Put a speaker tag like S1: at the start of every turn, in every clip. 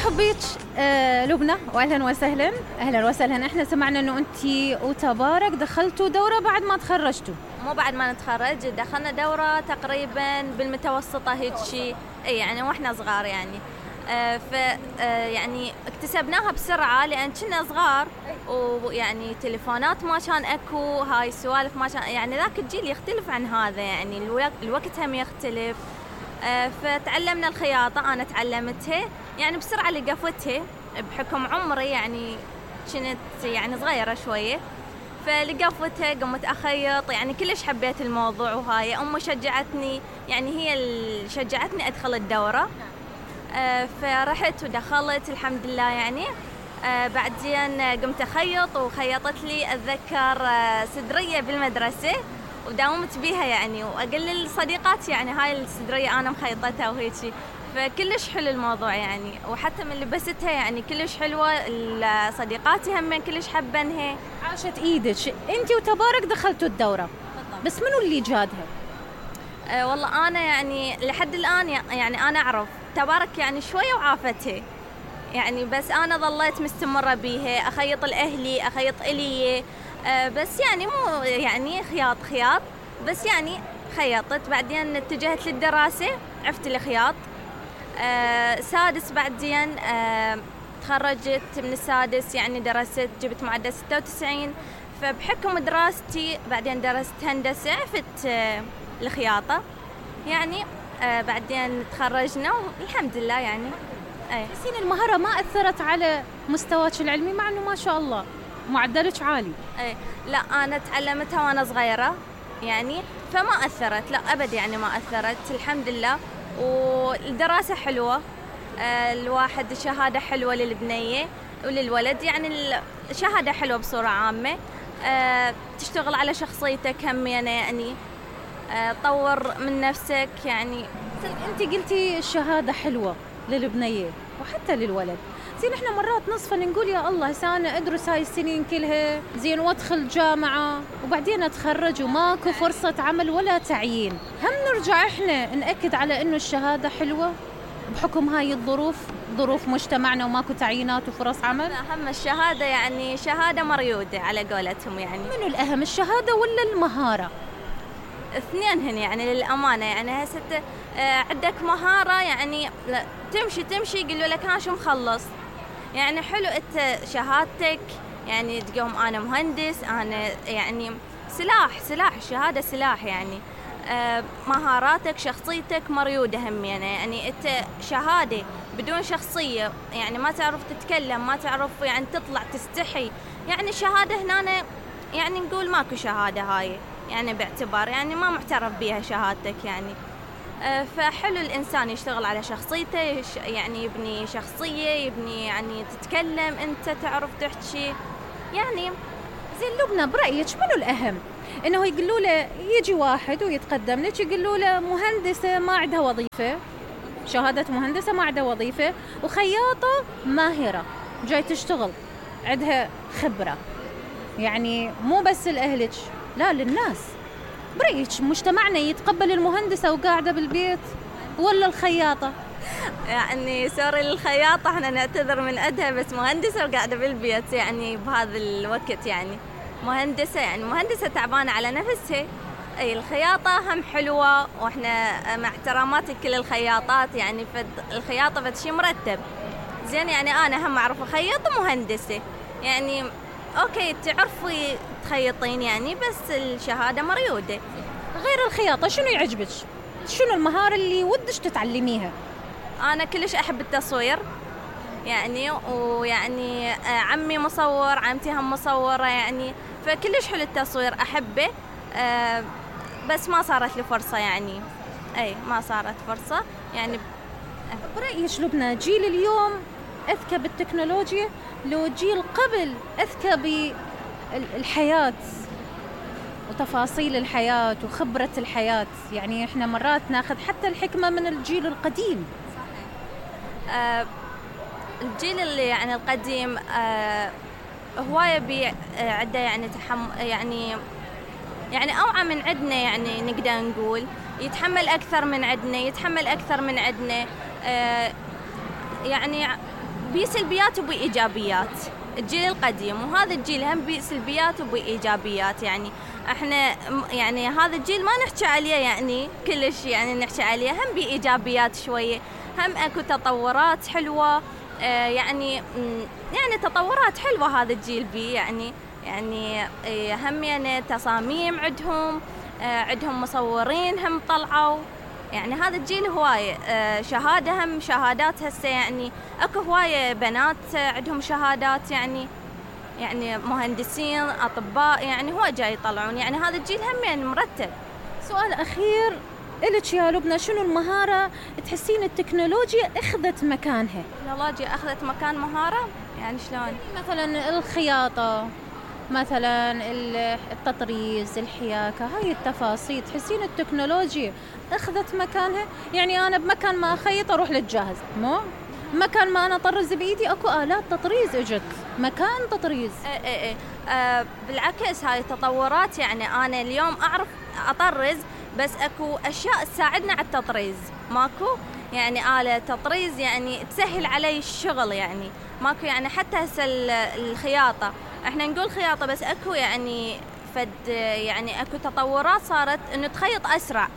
S1: برحب بيك لبنى، واهلا وسهلا. اهلا وسهلا. احنا سمعنا انه انتي وتبارك دخلتوا دورة بعد ما تخرجتوا.
S2: مو بعد ما نتخرج، دخلنا دورة تقريبا بالمتوسطة هيك شيء، يعني واحنا صغار يعني. يعني اكتسبناها بسرعة لأن كنا صغار، ويعني تليفونات ما كان اكو، هاي السوالف ما كان، يعني ذاك الجيل يختلف عن هذا، يعني الوقت هم يختلف. فتعلمنا الخياطة، أنا تعلمتها يعني بسرعة لقفتها بحكم عمري، يعني كنت يعني صغيرة شوية، فلقفتها قمت أخيط، يعني كلش حبيت الموضوع. وهاي أمي شجعتني، يعني هي اللي شجعتني أدخل الدورة. فرحت ودخلت الحمد لله يعني. بعدين قمت أخيط، وخيطت لي أتذكر سدرية بالمدرسة وداومت بيها يعني، وأقول لصديقاتي يعني هاي السدرية أنا مخيطتها وهيك، فكلش حلو الموضوع يعني. وحتى من لبستها يعني كلش حلوة، صديقاتي هم كلش حبنها.
S1: عاشت ايدك. انتي وتبارك دخلتوا الدورة، بس منو اللي جادها؟
S2: والله أنا يعني لحد الآن يعني أنا أعرف تبارك يعني شوية وعافتها يعني، بس أنا ظليت مستمرة بيها، أخيط لأهلي، أخيط إلي، بس يعني مو يعني خياط، بس يعني خيطت. بعدين اتجهت للدراسة، عرفت الخياط. سادس بعدين تخرجت من السادس، يعني درست، جبت معدل 96. فبحكم دراستي بعدين درست هندسة، عرفت الخياطة يعني. بعدين تخرجنا والحمد لله يعني.
S1: تحسين المهارة ما أثرت على مستواك العلمي، مع أنه ما شاء الله معدلك عالي؟
S2: لا، أنا تعلمتها وأنا صغيرة يعني، فما أثرت، لا أبد يعني ما أثرت الحمد لله. والدراسة حلوة، الواحد شهادة حلوة للبنية وللولد، يعني الشهادة حلوة بصورة عامة. تشتغل على شخصيتك همينة يعني، طور من نفسك يعني.
S1: أنت قلتي الشهادة حلوة للبنية وحتى للولد، زين احنا مرات نصفا نقول يا الله سانا ادرس هاي السنين كلها زين وادخل جامعة وبعدين اتخرج وماكو فرصة عمل ولا تعيين، هم نرجع احنا نأكد على انه الشهادة حلوة بحكم هاي الظروف، ظروف مجتمعنا وماكو تعيينات وفرص عمل؟
S2: أهم الشهادة يعني شهادة مريودة على قولتهم يعني.
S1: منو الأهم، الشهادة ولا المهارة؟
S2: اثنينهن يعني للأمانة، يعني هسه عندك مهارة يعني تمشي يقولوا لك ها شو مخلص، يعني حلو انت شهادتك يعني تقوم انا مهندس، انا يعني سلاح الشهادة سلاح يعني. مهاراتك شخصيتك مريودة همينة، يعني انت شهادة بدون شخصية يعني ما تعرف تتكلم، ما تعرف يعني تطلع تستحي، يعني شهادة هنا يعني نقول ماكو شهادة هاي يعني، باعتبار يعني ما معترف بيها شهادتك يعني. فحلو الإنسان يشتغل على شخصيته، يعني يبني شخصية، يبني يعني تتكلم أنت تعرف تحكي يعني.
S1: زين لبنى، برأيك منو الأهم؟ إنه يقولوا له يجي واحد ويتقدم لك يقولوا له مهندسة ما عندها وظيفة، شهادة مهندسة ما عندها وظيفة، وخياطة ماهرة جاي تشتغل عندها خبرة، يعني مو بس لأهلك لا للناس. برأيك مجتمعنا يتقبل المهندسة وقاعدة بالبيت ولا الخياطة؟
S2: يعني سوري للخياطة، احنا نعتذر من عندها، بس مهندسة وقاعدة بالبيت يعني بهذا الوقت يعني. مهندسة يعني مهندسة تعبانة على نفسها. اي الخياطة هم حلوة، واحنا مع احتراماتي كل الخياطات يعني، الخياطة فد شي مرتب زين يعني. انا هم اعرف اخيط مهندسة يعني، اوكي تعرفي تخيطين يعني، بس الشهادة مريودة.
S1: غير الخياطة شنو يعجبك؟ شنو المهارة اللي ودش تتعلميها؟
S2: أنا كلش أحب التصوير يعني، ويعني عمي مصور، عمتي هم مصورة يعني، فكلش حلو التصوير أحبه. بس ما صارت لي فرصة يعني، ما صارت فرصة يعني.
S1: برأيك لبنى جيل اليوم أذكى بالتكنولوجيا لو جيل قبل أذكى بالحياة وتفاصيل الحياة وخبرة الحياة؟ يعني إحنا مرات ناخذ حتى الحكمة من الجيل القديم.
S2: الجيل اللي يعني القديم هواية عنده يعني يعني أوعى من عندنا يعني، نقدر نقول يتحمل أكثر من عندنا، يعني بيه سلبيات وبيه إيجابيات. الجيل القديم وهذا الجيل هم بيه سلبيات وبيه إيجابيات. يعني احنا يعني هذا الجيل ما نحكي عليه يعني كلش يعني نحكي عليه، هم بيه إيجابيات شوية، هم اكو تطورات حلوة. يعني تطورات حلوة هذا الجيل بيه يعني هم يعني تصاميم عندهم مصورين هم طلعوا. يعني هذا الجيل هواية شهادة، هم شهادات هسه يعني اكو هواية بنات عندهم شهادات يعني مهندسين أطباء، يعني هو جاي يطلعون. يعني هذا الجيل هم يعني مرتب.
S1: سؤال أخير إلك يا لبنى، شنو المهارة تحسين التكنولوجيا أخذت مكانها؟
S2: التكنولوجيا أخذت مكان مهارة يعني شلون؟
S1: مثلا الخياطة، مثلا التطريز، الحياكة، هاي التفاصيل تحسين التكنولوجيا أخذت مكانها؟ يعني أنا بمكان ما أخيط أروح للجاهز، مو مكان ما أنا أطرز بإيدي أكو آلات تطريز إجت مكان تطريز.
S2: بالعكس هاي التطورات. يعني أنا اليوم أعرف أطرز بس أكو أشياء تساعدنا على التطريز ماكو، يعني آلة تطريز يعني تسهل علي الشغل. يعني ماكو يعني حتى هسه الخياطة احنا نقول خياطة بس اكو يعني يعني اكو تطورات صارت انه تخيط اسرع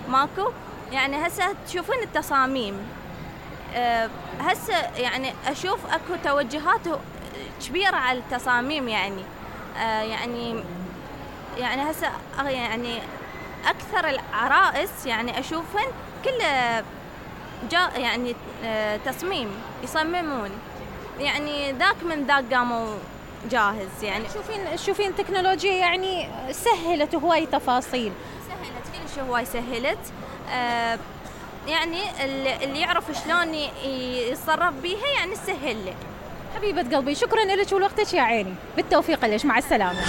S2: ماكو. يعني هسه تشوفين التصاميم هسه يعني اشوف اكو توجهات كبيرة على التصاميم. يعني هسه يعني اكثر العرائس يعني اشوفن كله يعني تصميم يصممون، يعني ذاك من ذاك قاموا جاهز. يعني
S1: شوفين تكنولوجيا يعني سهلت هواي تفاصيل،
S2: سهلت كل شيء، هواي سهلت. يعني اللي يعرف شلون يتصرف بيها يعني سهل له.
S1: حبيبة قلبي شكرا لك ولوقتك يا عيني، بالتوفيق لك، مع السلامة.